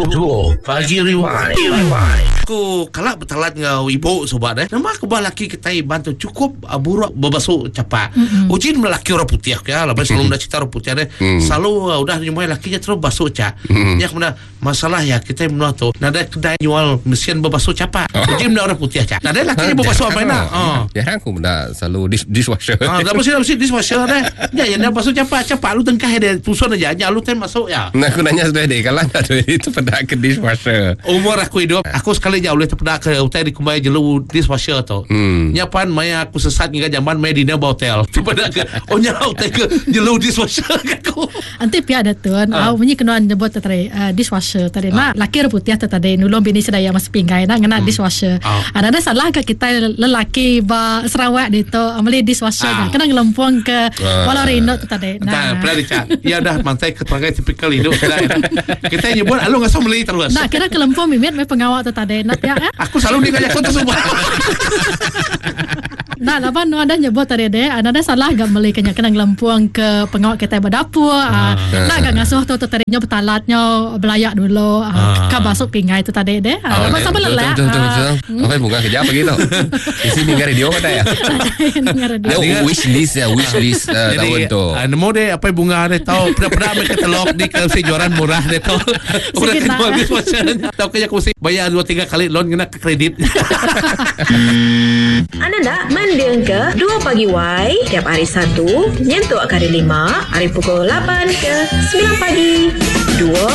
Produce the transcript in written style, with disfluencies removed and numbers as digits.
Dua pagi rewind. Aku kala betalat enggau ibu suba deh. Nama kebuah laki kitai Iban tu chukup buruk bebasu chapak. Uji meda laki orang putih ke laban selalu meda cerita orang putih deh. Selalu udah nyumai laki nya terus basu chak. Nya ke meda masalah iya kitai menua tu nadai kedai nyual mesin bebasu chapak. Uji meda orang putih chak. Nadai laki nya bebasu amai enda. Jarang aku meda selalu dish dishwasher. Ah, laban sida bisi dishwasher deh. Nya iya enda basu chapak, chapak lu tengkah dia tusun aja nya lu tai masuk iya. Nah, aku nanya seduai dek kalah enda duit itu peda ke dishwasher. Umur aku idup, aku sekali nya ulih tepeda ke utai dikumbai jelu dishwasher tu. Hmm. Nya pan maya aku sesat ngiga jamban maya dinner ba hotel. Tepeda ke oh nya utai ke jelu dishwasher ke aku. Enti pia da tun, au munyi ke nuan nyebut tu tadi uh, dishwasher tadi na laki orang putih tu tadi nulung bini sida iya masu pinggai na ngena dishwasher. Ah. Ah, nadai salah ka kitai lelaki ba Sarawak ditu meli dishwasher nya kena ngelempung ke bala orang indu tu tadi. Entah, pernah dicak. Iya udah mantai ke perangai tipikal indu sida. Kita nyebut alu ngasuh meli terus. Nah, kira kelempung mimit meh pengawa tu tadi. Nah, pia eh. Aku selalu ninga jaku tu suba. Nah, laban nuan dah nyebut tadi deh, ah, nadai salah ga meli ke nya kena ngelempung ke pengawa kitai ba dapur. Ah, nak ga ngasuh tu tu tadi nyo betalat nyo belayak dulu ah, ka basu pinggai tu tadi deh. Ah, laban sama Betul, lelak. betul, betul, Ah, betul. Apa bunga kerja pagi tu? Isi ninga radio kata ya. Dengar radio. Dia wish list ya, wish list uh, tahun tu. ah, nemu deh apa bunga deh tau peda-peda meh katalog di KFC jualan murah deh tau. Orang Sikit jual nak. dishwasher. Tau ke aku mesti bayar 2 3 kali loan kena ke kredit. Anda enda mendingka Dua Pagi Wai tiap hari Satu nyentuk ke hari Lima ari pukul lapan ke semilan pagi. Dua.